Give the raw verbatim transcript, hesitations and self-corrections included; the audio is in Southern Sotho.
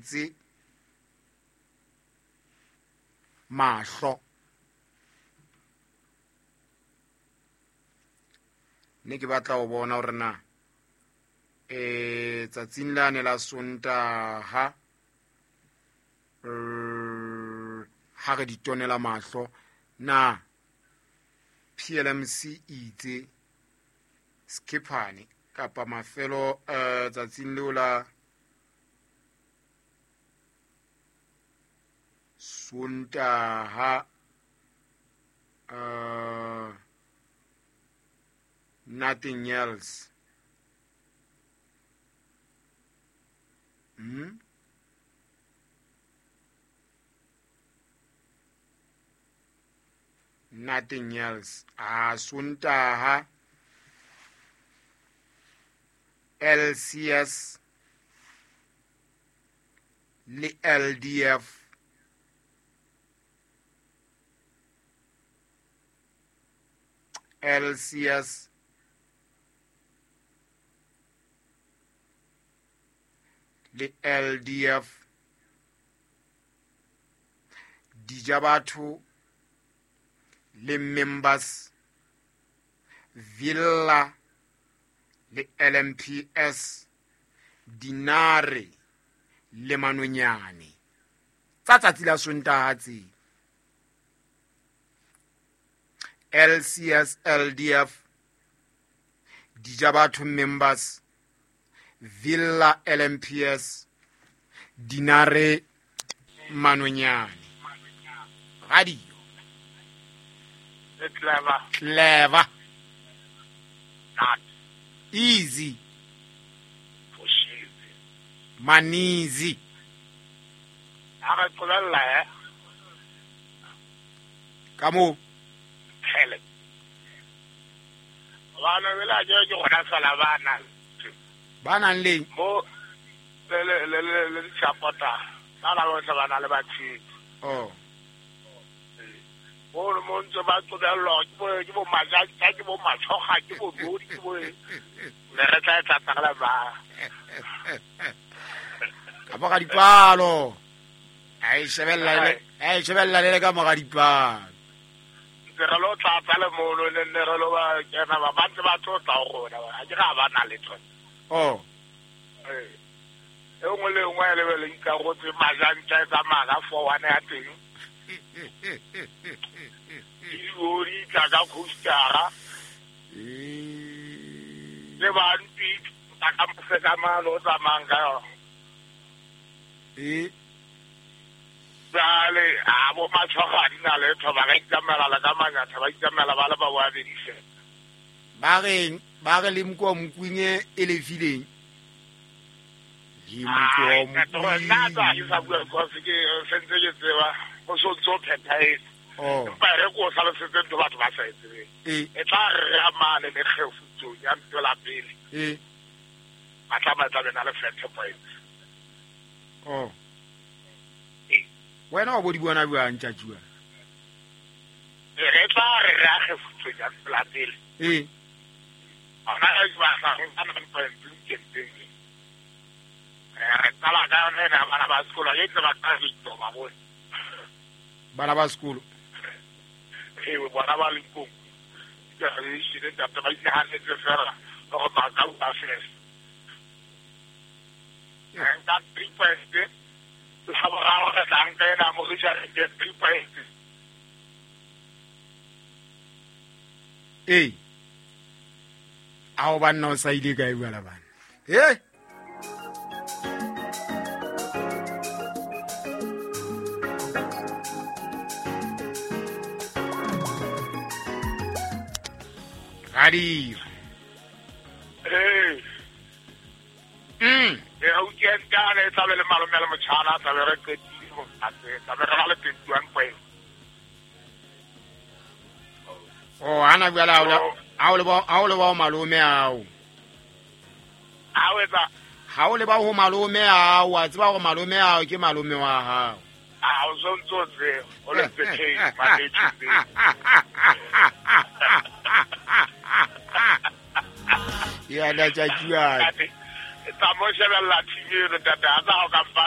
tonetse mahlo. Ne ke batla ho bona hore na eh tsatsing lane la Sontaha ha re di tonela mahlo na P L M C itse Skiphane kapa mafelo eh tsatsing leo la Sontaha uh, nothing else. Hmm? Nothing else. Ah, Sontaha L C S le L D F L C S le L D F Dijabatho le members Villa le L M P S Dinare le Manonyane tsa tsatsi la Sontaha tse L C S L D F Dijabatho members Villa L M P S Dinare Manonyane. Radio Clever. Clever. Not easy. For sure. Manizi. Kamo. Helen. Ba nang le mo le le le le le dishapota ba ba botlhe ba na le batshedi. Oh. Mo mo ntse ba qobellwa ke bo ke bo majatsa ke bo matshoga ke bo bodi ke bo ne re tla tla tla ba. Ka mo ga dipalo. Ai shebella le ai shebella le ka mo ga dipalo. Ntse re lo tla tla le mono ne ne re lo ba kena ba ba ntse ba tlotla go rona ha ke ga ba na le tsone. Oh. Eh. E nngwe le nngwe le le ikarotse majantsa e tsamaya ka four one ya teng. Di tla ka coastara. Le ba ntse ka moseka mano o tsamayang ka yona. Eh. Jale a bo matshoga di na le tho ba ka itsamaela le ka manyatha ba itsamaela ba le ba babedi fela. Ba reng ba re le mko mokwinye e lefileng. Le mko mokwinye. Nna tsa ke sa bua because ke sentse ke tseba go so tso phethahetse. Oh. Empa re ko sa lesetse ntho batho ba sa e tsebeng. Eh. E tla re amane le kgefutsong ya ntho la pele. Eh. Ba tla ba tla bena le thirty points. Oh. Eh. Wena o bo di bona bua ntjatjua. E re tla re re a kgefutsong ya ntho la pele. Eh. Ona e ba sa go nna nine point two ke teng. Re tsala ka yona ena bana ba sekolo ke tse ba ka ditso ba bone. Bana ba sekolo. Ee bona ba Limpopo. Ke re shile ntate ba inahanetse fela gore ba ka ba fela. Nka three point la boraro re tla nka ena mo re jare ke three point. Ee. Ao banna o sa ile kae bua la bana. Eh? Radio. Eh. Mm. E ha o kentane tla be le malome le motjhana tla be re qetile mo tla be re ba le twenty-one point. Oh, ana bua la ha o le ba ha o le ba malome ao. Ha o etsa ha o le ba ho malome ao, a tseba hore malome ao ke malome wa hao. Ah, o sontso tse o le tse ke Ya la tjatjua. Tsa mo shebella T V eno tata, a tsa ho ka mpa